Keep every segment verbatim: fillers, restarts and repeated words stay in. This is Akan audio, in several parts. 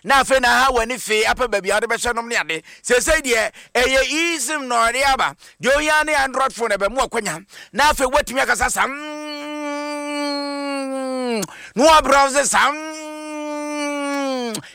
Na afei na ha w'ani fee apɛ baabi a wode bɛhyɛ nom ne ade. Seesei deɛ ɛyɛ eSIM na ɔde aba. Deɛ ohia ne Android phone ɛbɛmu akwanya na afei woatumi akasa sam na wabrowse sam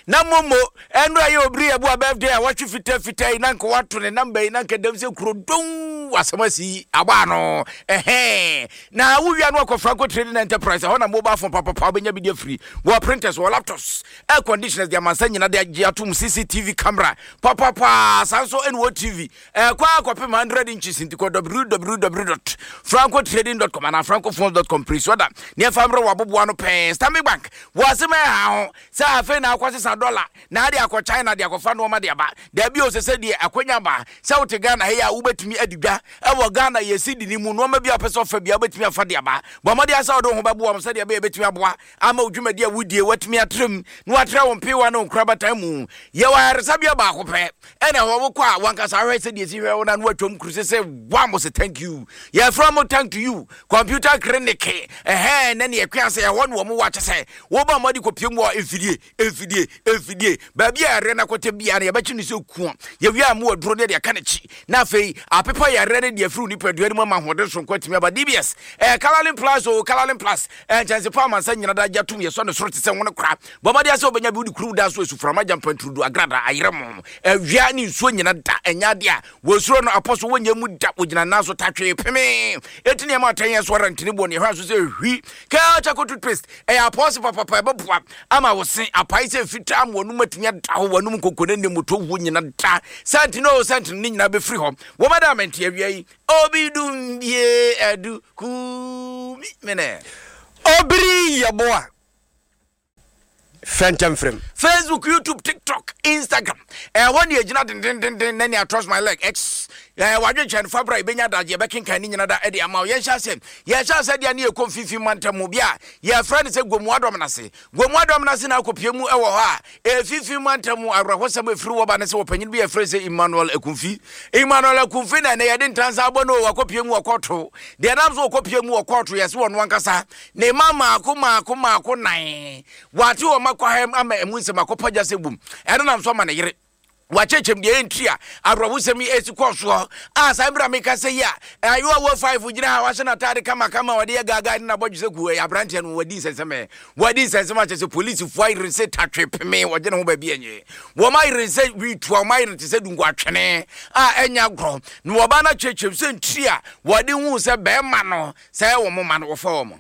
na momo. Ɛno ɛyɛ Obiri Yɛboa birthday a wɔtwe fitafita yi na nka wato ne number yi na nka dɛm sɛ kuro don asɛm asi abɔ ano. Ɛhɛn, na wowia no akɔ Franco Trading Enterprise. Ɛhɔ na mobile phone papapa wobɛnya bi de afiri, wɔ printers, wɔ laptops, air conditioners de amansa nyina de agye atom, C C T V camera papapa, saa nso ɛne wɔ T V ɛkɔ akɔpem hundred inches. Nti kɔ W W W dot francotrading dot com anaa francophones dot com pere so da ne ɛfa mmerɛ wɔ aboboa no pɛɛ. Stanbic Bank wɔ asɛm ɛha ho sɛ afei na akɔsesa dɔla na ade akɔ China de akɔfa nneɔma de aba. Daabi o, sɛ sɛ deɛ akwanya ba sɛ wote Ghana ha yi a, wobɛtumi adi dwa ɛwɔ Ghana yɛsi di ne mu. Nneɔma bi a wopɛ sɛ ɔfa bia, wobɛtumi afa de aba. Bɔ mmɔde sɛ wode wo ho bɛboa m sɛdeɛ ɛbɛyɛ bɛtumi aboa ama wo dwumadi a wodie watumi atrɛm na watrɛ wo mpewa ne wo nkorabatan mu. Yɛwɔ ayaresabea baako pɛ ɛna ɛhɔ wokɔ a, wankasa ahwɛ sɛdeɛ si hwɛ wo na no watwam kuru sɛ sɛ wam sɛ thank you. Yɛfrɛ mo Thank to You Computer Clinic. Ɛhɛn, na ne yɛkua sɛ ɛhɔ ne wɔ mo wɔ akyɛ sɛ woba mmɔde kɔpie mu wɔ mfidie mfidie mfidie baabi a yɛreɛ no akɔtɛ bia no, yɛbɛkye no sɛ kua. Yɛwie a, mu aduro ne deɛ aka n'akyi na afei apepa yɛreɛ no deɛ afiri wo nipadua no mu ama ahoɔden sonko atumi aba. D B S ɛɛ Calalin Plus o, Calalin Plus ɛɛ nkyɛnse pa amansa nyina da agya tom yɛsɔ ne soro te sɛ nwone kora. Bɔmmɔde sɛ wobɛnya bi wode kuruw da so asuframa gyampanturudu agrada ayerɛ mo awia ne nsuo nyina da. Ɛnyɛ adeɛ a wɔsuro no apɔ so wɔnyɛ mu da, wɔgyina nan so tatwee peme ɛti nneɛma ɔtɛn yɛ so ara ntini bɔ ne ɛhɔ so sɛ hwi. Kel Charcoal toothpaste ɛyɛ apɔse papapa, ɛbɛboa ama wo se apae sɛ fitaa ma wɔnum atumi ada hɔ, wɔnum nkoko ne ne moto wuo nyina da. Sɛnti no sɛnti no ne nyinaa bɛfiri hɔ. Wɔbɛda amɛnte awia yi obi dum bie adu kumi mene. Obiri Yɛboa fɛntɛmfrɛm. Facebook, YouTube, TikTok, Instagram, ɛhɔ ne ɛgyina dendendenden na nea Trust My Leg X ɛɛ wadwenkyɛn no fabra ɛbɛnya adagye yɛbɛkenkan ne nyina da ɛde ama wo. Yɛnhyɛ asɛ yɛhyɛ asɛ deɛ ne yɛkɔ mfimfini mantam mu bi a yɛfrɛ no sɛ Gomu Adɔm nase. Gomu Adɔm nase na akɔpie mu ɛwɔ hɔ a ɛfimfini mantam mu. Awerɛhosɛm ɛfiri wɔ ba ne sɛ wɔpanyin bi yɛfrɛ sɛ Emmanuel Akumfi. Emmanuel Akumfi na ɛnɛ yɛde ntansa abɔ no. Wakɔpie mu wɔ kɔɔto. Deɛ nam so wɔkɔpie mu wɔ kɔɔto, yɛse wɔno ankasa ne ma maako maako maako nan wate wɔ ma kɔ ama ɛmu nsɛm akɔpa gya sɛ bum. Ɛno nam so ama ne yere wakyɛkyɛm deɛ ɛntiri a awerɛhosɛm yi ɛsi kɔɔ soɔ a. Saa mmerɛ a meka sɛ yi a ayewa wɔ five gyina ha, wahyɛ n'ataade kamakama, wɔde yɛ gaagaa ne nabɔdwe sɛ gu. Ɛyɛ aberanteɛ no wadi nsɛnsɛm, wadi nsɛnsɛm akyɛ sɛ polisifoɔ ayere sɛ tatwe peme wɔgye ne ho baabi ɛnyɛ. Wɔn ayere sɛ witua, wɔn ayere te sɛ dungu atwene a ɛnyɛ agorɔ. Na wɔba no akyerɛkyerɛm sɛ ntiri a wɔde hu sɛ bɛrima no sɛ wɔn ma no wɔfa wɔn.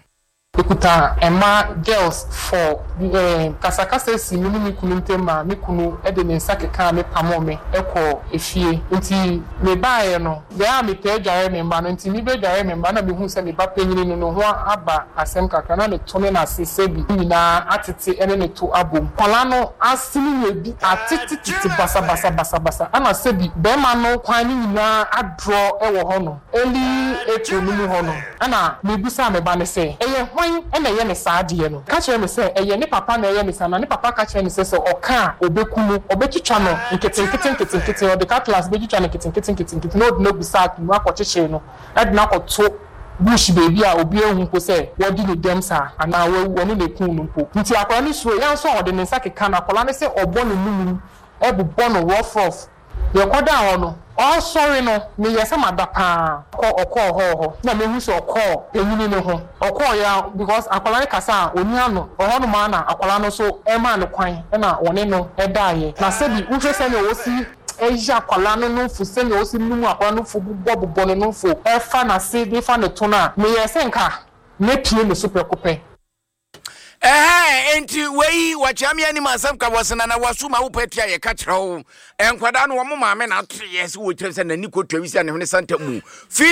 Ekuta mmaa girls four. ɛɛ kasakasa si mi ne mi kunu ntam a mi kunu de ne nsa keka me pamo me kɔ efie. Nti me baeɛ no deɛ a mepɛ adware me mma no, nti mi bɛ dware me mma na mehu sɛ me ba panyin no ne ho aba asɛm kakra na ne to ne n'ase sɛbi nyinaa atete ne ne to abom. Kwalaa no ase no yɛ bi atetetete basabasa basabasa, ɛna sɛbi bɛrima no kwan no nyinaa adorɔ wɔ hɔ no. Early April no mu hɔ no, ɛna mebusa me ba no sɛ ɛyɛ hwan ɛna ɛyɛ ne saa adeɛ no. Ka kyerɛ me sɛ ɛyɛ ne papa na ɛyɛ ne saa, na ne papa ka kyerɛ ne sɛ sɛ ɔka a, ɔbɛku no, ɔbɛtwitwa no nketenkete nketenkete, ɔde cutlass bɛtwitwa no nketenkete nketenkete na ɔde no agu sack mu akɔkyekyere no, ɛde no akɔto bush beebi a obi ehu mpo sɛ wɔde ne dɛm saa anaa wawu, ɔno na ekun no mpo. Nti akwadaa no suro yɛn nso a ɔde ne nsa keka no akwadaa no sɛ ɔbɔ ne num ɛbobɔ no rough rough. Yɛkɔdaa hɔ no, ɔsɔre no meyɛ sɛ mada paa kɔ ɔkɔɔ hɔ hɔ na mehu sɛ ɔkɔɔ panyini ne ho. Ɔkɔɔ ya because akwadaa no kasa a oni ano ɔhɔ nom a na akwadaa no nso ɛmaa no kwan ɛna ɔne no ɛdaeɛ. Na sɛbi wohwɛ sɛnea wɔsi ɛyɛ akwadaa no nofo, sɛnea wɔsi num akwadaa no fo, bobɔ bobɔ ne nofo, ɛfa n'ase de fa ne to no a, meyɛ sɛ nka mepie ne so prɛko pɛ. Ɛhɛn, enti wei wɔkyea me anim asɛm ka wɔsena na waso ma wopɛ tia. Yɛka kyerɛ wo, nkwadaa no wɔn maame na atoyɛ sɛ wɔkyerɛ sɛ n'ani kɔtwa wi sɛ ne hwene santa mu feel.